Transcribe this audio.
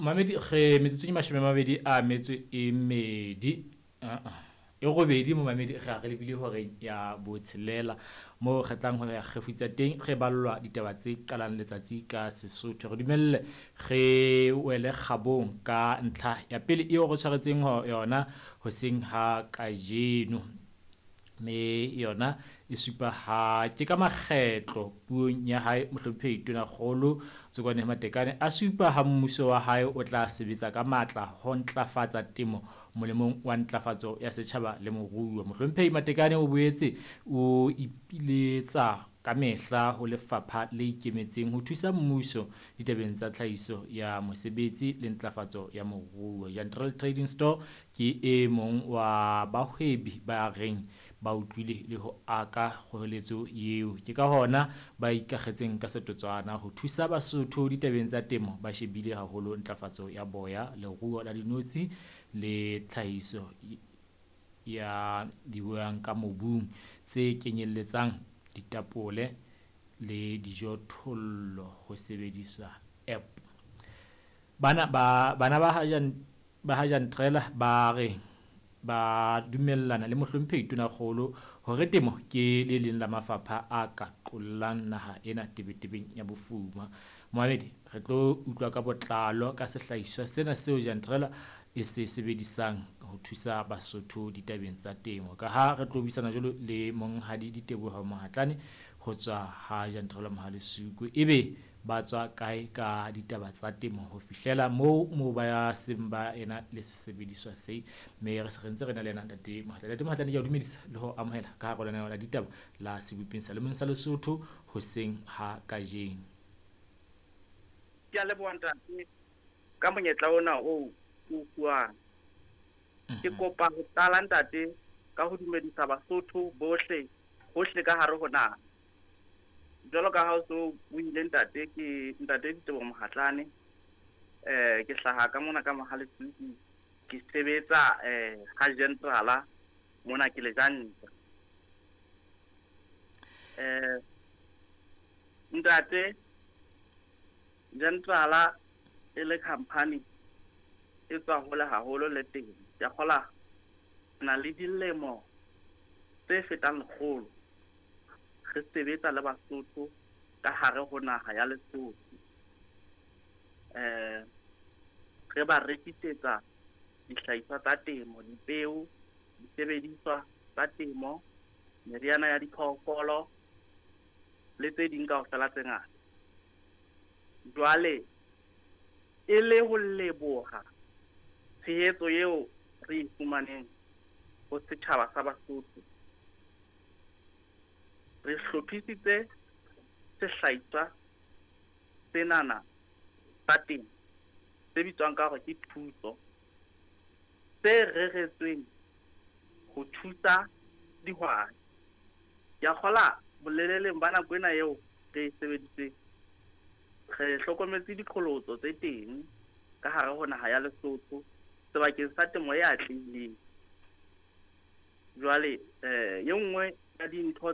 Mamedi re metsotso ke 28, e robedi momamedi re a re lebile horeng ya botshelela moo re tlang ho ya kgefutsa teng, re ballwa ditaba tse qalang letsatsi ka Sesotho. Re dumelle re wele kgabong ka ntlha ya pele eo re tshwaretseng yona hoseng ha kajeno. Mme yona e supa ha ke ka makgetlo puong ya hae Mohlomphehi Tonakgolo Tsokwane Matekane a supa ha mmuso wa hae o tla sebetsa ka matla ho ntlafatsa temo molemong wa ntlafatso ya setjhaba le moruo. Mohlomphehi Matekane o boetse o ipiletsa ka mehla ho lefapha le ikemetseng ho thusa mmuso ditabeng tsa tlhahiso ya mosebetsi le ntlafatso ya moruo. Jantrel Trading Store ke e mong wa bahwebi ba reng ba utlwile le ho aka kgoeletso eo. Ke ka hona ba ikakgetseng ka setotswana ho thusa Basotho ditabeng tsa temo, ba shebile haholo ntlafatso ya boya, leruo la dinotshi le tlhahiso ya dibuang ka mobung tse kenyelletsang ditapole le dijothollo ho sebediswa app. Bana ba ha Jantrela ba re ba dumellana le Mohlomphehi Tonakgolo hore temo ke le leng la mafapha a ka qollang naha ena tebetebeng ya bofuma. Mohamedi, re tlo utlwa ka botlalo ka sehlahiswa sena seo Jantrela e se sebedisang ho thusa Basotho ditabeng tsa temo. Ka ha re tlo buisana jwalo le Monghadi Diteboho Mohatlane ho tswa ha Jantrela Mohalesuku, ebe ba tswa kae ka ditaba tsa temo ho fihlela moo ba seng ba ena le sesebediswa se, mme re se re ntse re na le yena Ntate Mohatlane. Ntate Mohatlane, ke a o dumedisa le ho amohela ka hara lenaneo la ditaba la Sebopeng sa Lemong sa Lesotho hoseng ha kajeno. Ke a leboha ntate ka monyetla ona oo o fuwang. Ke kopa ho qala ntate ka ho dumedisa Basotho bohle hohle ka hare ho naha. Jwalo ka ha o so buile ntate, ke ntate Diteboho Mohatlane. Ke hlaha ka mona ka Mohalesuku, ke sebetsa ha Gentrala mona ke lejanta. Ntate, Gentrala e le company e tswa hole haholo le teng. Ke a kgola na le dilemo tse fetang 100 re sebetsa le Basotho ka hare ho naha ya Lesotho. Re ba rekisetsa dihlahiswa tsa temo, dipeo, disebediswa tsa temo, meriana ya diphoofolo le tse ding kaofela tse ngata. Jwale e le ho leboha tshehetso eo re e fumaneng ho setjhaba sa Basotho, re hlophisitse sehlahiswa senana sa temo se bitswang ka hore ke thuso, se reretsweng ho thusa dihwai. Ke a kgola boleleleng ba nako ena eo re e sebeditseng, re hlokometse diqholotso tse teng ka hare ho naha ya Lesotho sebakeng sa temo e atlehileng. Jwale e nngwe ya dintho